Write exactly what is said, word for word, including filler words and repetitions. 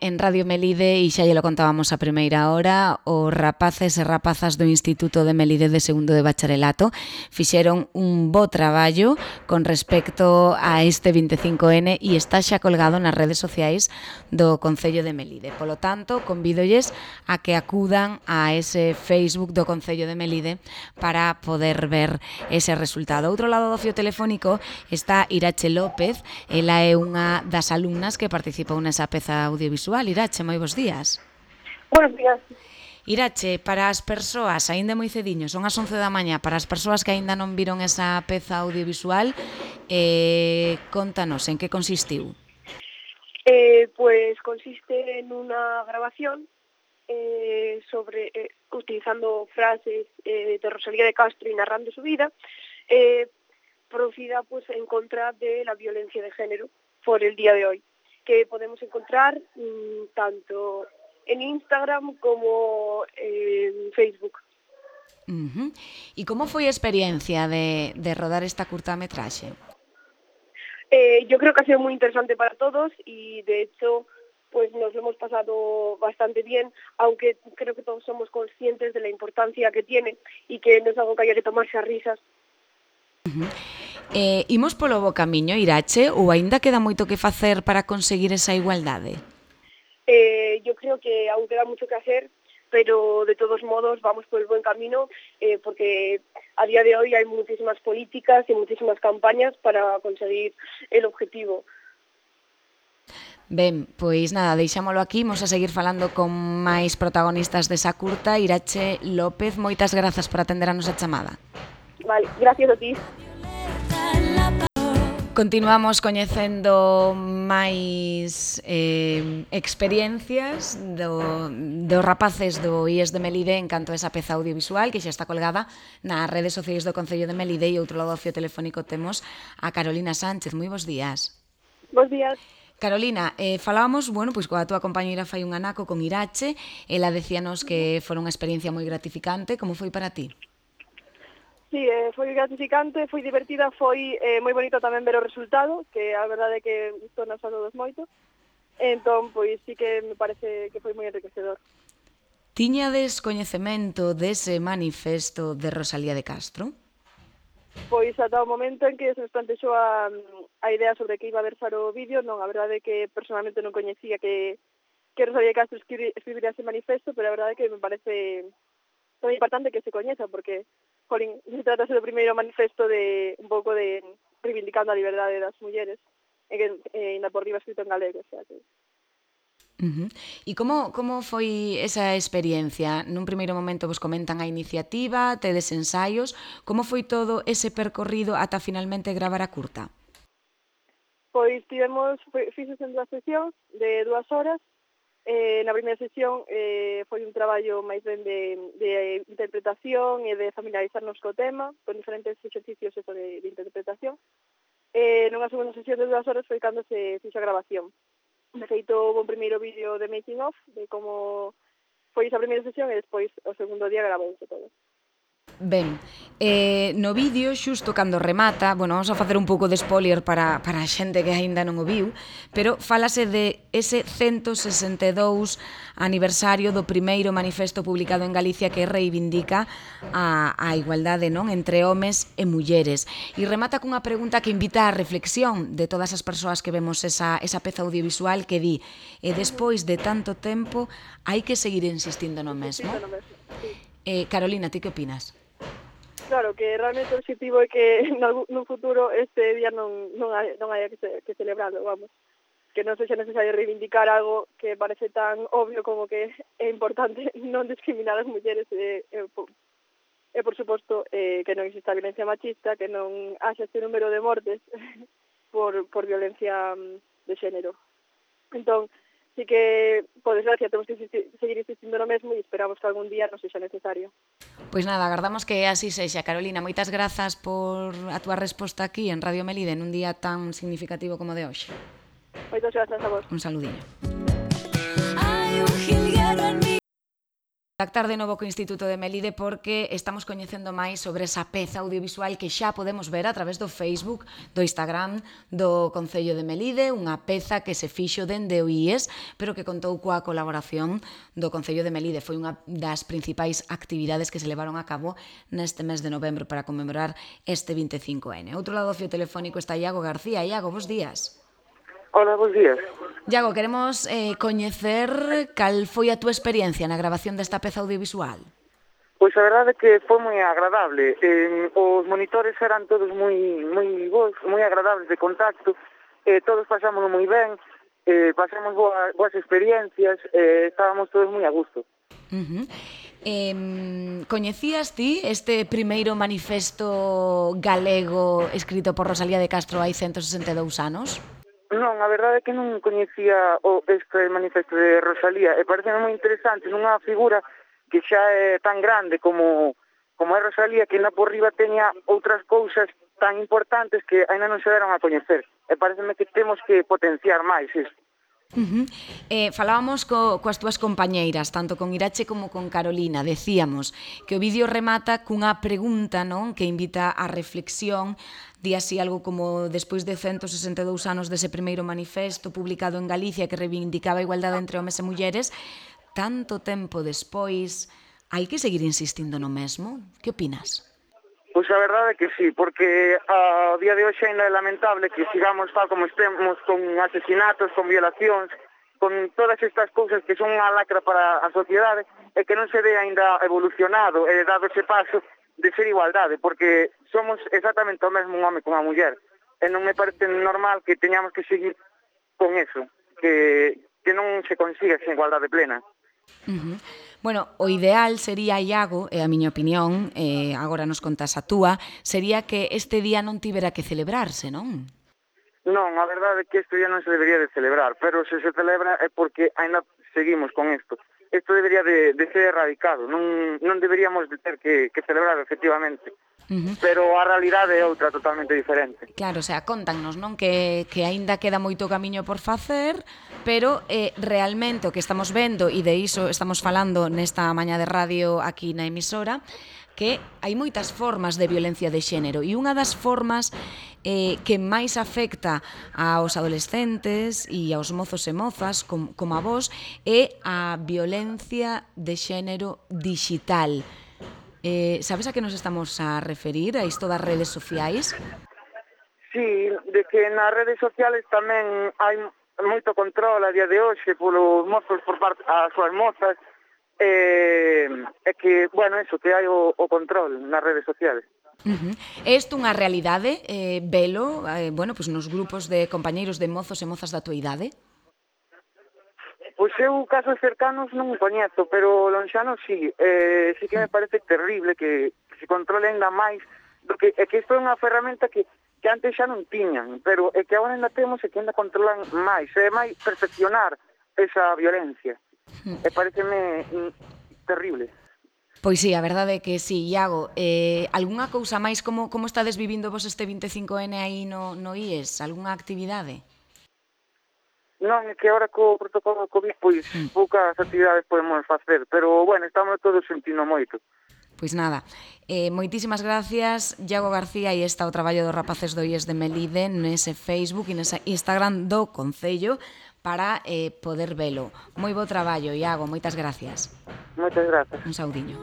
En Radio Melide, e xa lle lo contábamos a primeira hora, os rapaces e rapazas do Instituto de Melide de segundo de bacharelato fixeron un bo traballo con respecto a este vinte e cinco ene e está xa colgado nas redes sociais do Concello de Melide. Polo tanto, convídolles a que acudan a ese Facebook do Concello de Melide para poder ver ese resultado. Outro lado do fío telefónico está Irache López, ela é unha das alumnas que participou nesa peza audiovisual. Irache, moi bons días. Buenos días. Irache, para as persoas, aínda moi cediño, son as once da mañá, para as persoas que aínda non viron esa peza audiovisual, eh, contanos, en que consistiu? Eh, pues consiste en una grabación eh, sobre eh, utilizando frases eh, de Rosalía de Castro y narrando su vida, eh, producida pues en contra de la violencia de género por el día de hoy, que podemos encontrar mmm, tanto en Instagram como en Facebook. Uh-huh. E como foi a experiencia de, de rodar esta curtametraxe? Eh, yo creo que ha sido muy interesante para todos y de hecho pues nos lo hemos pasado bastante bien, aunque creo que todos somos conscientes de la importancia que tiene y que no es algo que haya que tomarse a risas. Uh-huh. Eh, imos polo bo camiño, Irache, ou aínda queda moito que facer para conseguir esa igualdade? Eh, yo creo que aún queda mucho que hacer, pero de todos modos vamos por el buen camino, eh, porque a día de hoy hay muchísimas políticas y muchísimas campañas para conseguir el objetivo. Ben, pois nada, deixámolo aquí, imos a seguir falando con máis protagonistas desa curta. Irache López, moitas grazas por atender a nosa chamada. Vale, gracias a ti. Continuamos coñecendo máis eh, experiencias do, dos rapaces do I E S de Melide en canto a esa peza audiovisual que xa está colgada nas redes sociais do Concello de Melide. E outro lado do fío telefónico temos a Carolina Sánchez. Moi bons días. Bos días. Carolina, eh, falábamos, bueno, pois coa túa compañeira fai un anaco con Irache, ela decíanos que foi unha experiencia moi gratificante. Como foi para ti? Sí, eh, foi gratificante, foi divertida, foi eh, moi bonito tamén ver o resultado, que a verdade é que gustou nos a todos moito. Entón, pois sí que me parece que foi moi enriquecedor. Tiñades coñecemento dese manifesto de Rosalía de Castro? Pois ata o momento en que se nos plantexou a, a idea sobre que iba a versar o vídeo, non, a verdade é que personalmente non coñecía que, que Rosalía de Castro escribiría ese manifesto, pero a verdade é que me parece moi importante que se coñeza, porque jolín, se trata do primeiro manifesto de un pouco de reivindicando a liberdade das mulleres, e que eh, ainda por riba escrito en galego, o sea que... Uh-huh. E como, como foi esa experiencia? Nun primeiro momento vos comentan a iniciativa, tedes ensaios, como foi todo ese percorrido ata finalmente gravar a curta? Pois tivemos, fixos en dúas sesións de dúas horas. Eh, na primeira sesión eh, foi un traballo máis ben de, de interpretación e de familiarizarnos co tema, con diferentes exercicios eso de, de interpretación. Eh, nunha segunda sesión de dúas horas foi cando se fixo a grabación. De feito, houve un primeiro vídeo de making of, de como foi esa primeira sesión e despois o segundo día gravouse todo. Ben, eh, no vídeo, xusto cando remata, bueno, vamos a facer un pouco de spoiler para, para a xente que aínda non o viu, pero fálase de ese ciento sesenta e dous aniversario do primeiro manifesto publicado en Galicia que reivindica a, a igualdade, non, entre homes e mulleres. E remata cunha pregunta que invita á reflexión de todas as persoas que vemos esa, esa peza audiovisual que di, e despois de tanto tempo hai que seguir insistindo no mesmo. Eh, Carolina, ti que opinas? Claro, que realmente o objetivo é que no futuro este día non, non, hai, non haya que, se, que celebrarlo, vamos. Que non sexa necesario reivindicar algo que parece tan obvio como que é importante non discriminar as mulleres e, e, por, e por suposto, eh, que non exista violencia machista, que non haxa este número de mortes por, por violencia de xénero. Entón, sí que, por desgracia, temos que insistir, seguir insistindo no mesmo e esperamos que algún día non sexa necesario. Pois nada, agardamos que así sexa. Carolina, moitas grazas por a túa resposta aquí en Radio Melide nun día tan significativo como de hoxe. Moitas grazas a vos. Un saludiño. Contactar de novo co Instituto de Melide porque estamos coñecendo máis sobre esa peza audiovisual que xa podemos ver a través do Facebook, do Instagram do Concello de Melide, unha peza que se fixo dende o I E S, pero que contou coa colaboración do Concello de Melide. Foi unha das principais actividades que se levaron a cabo neste mes de novembro para conmemorar este vinte e cinco ene. Outro lado do fio telefónico está Iago García. Iago, bos días. Hola, bons días. Iago, queremos eh, coñecer cal foi a túa experiencia na grabación desta peza audiovisual. Pois a verdade é que foi moi agradable. Eh, os monitores eran todos moi moi bons, moi agradables de contacto. Eh, todos pasámoslo moi ben, eh, pasamos boas, boas experiencias, eh, estábamos todos moi a gusto. Uh-huh. Eh, coñecías ti este primeiro manifesto galego escrito por Rosalía de Castro hai ciento sesenta e dous anos? Non, a verdade é que non coñecía o este manifesto de Rosalía e parece moi interesante nunha figura que xa é tan grande como como é Rosalía, que ainda por riba teña outras cousas tan importantes que ainda non se deron a coñecer. E pareceme que temos que potenciar máis isto. Uh-huh. Eh, falábamos co, coas túas compañeiras, tanto con Irache como con Carolina. Decíamos que o vídeo remata cunha pregunta, non, que invita á reflexión. Di así algo como: despois de ciento sesenta e dous anos dese primeiro manifesto publicado en Galicia que reivindicaba a igualdade entre homes e mulleres, tanto tempo despois, hai que seguir insistindo no mesmo? Que opinas? Pois a verdade é que sí, porque a día de hoxe ainda é lamentable que sigamos tal como estemos con asesinatos, con violacións, con todas estas cousas que son unha lacra para a sociedade e que non se ve ainda evolucionado e dado ese paso de ser igualdade, porque somos exactamente o mesmo un home con a muller e non me parece normal que teñamos que seguir con eso, que, que non se consiga esa igualdade plena. Uh-huh. Bueno, o ideal sería, Iago, e a miña opinión, eh, agora nos contas a túa, sería que este día non tivera que celebrarse, non? Non, a verdade é que este día non se debería de celebrar, pero se se celebra é porque ainda seguimos con isto. Isto debería de, de ser erradicado, non, non deberíamos de ter que, que celebrar, efectivamente. Uh-huh. Pero a realidade é outra totalmente diferente. Claro, o sea, contanos, non, que, que aínda queda moito camiño por facer, pero eh, realmente o que estamos vendo, e de iso estamos falando nesta mañá de radio aquí na emisora, que hai moitas formas de violencia de xénero, e unha das formas eh, que máis afecta aos adolescentes e aos mozos e mozas, como, como a vos, é a violencia de xénero digital. Eh, sabes a que nos estamos a referir, a isto das redes sociais? Sí, de que nas redes sociales tamén hai moito control a día de hoxe polos mozos por parte as súas mozas, e eh, que, bueno, eso, que hai o, o control nas redes sociales. Uh-huh. É isto unha realidade, eh, velo, eh, bueno, pues nos grupos de compañeiros de mozos e mozas da tua idade? Pois eu casos cercanos non me coñezo, pero lonxanos sí, eh, sí que me parece terrible que, que se controle ainda máis, porque é que isto é unha ferramenta que, que antes xa non tiñan, pero é que agora ainda temos e que ainda controlan máis, é máis perfeccionar esa violencia. E pareceme mm, terrible. Pois sí, a verdade é que sí, Iago. Eh, algunha cousa máis, como, como estades vivindo vos este vinte e cinco ene aí no, no I E S? Algunha actividade? Non, é que agora co protocolo do COVID, pois, mm. poucas actividades podemos facer, pero, bueno, estamos todos sentindo moito. Pois nada, eh, moitísimas gracias, Iago García, e está o traballo dos rapaces do I E S de Melide nese Facebook e nese Instagram do Concello para eh, poder velo. Moi bo traballo, Iago, moitas gracias. Moitas grazas. Un saudiño.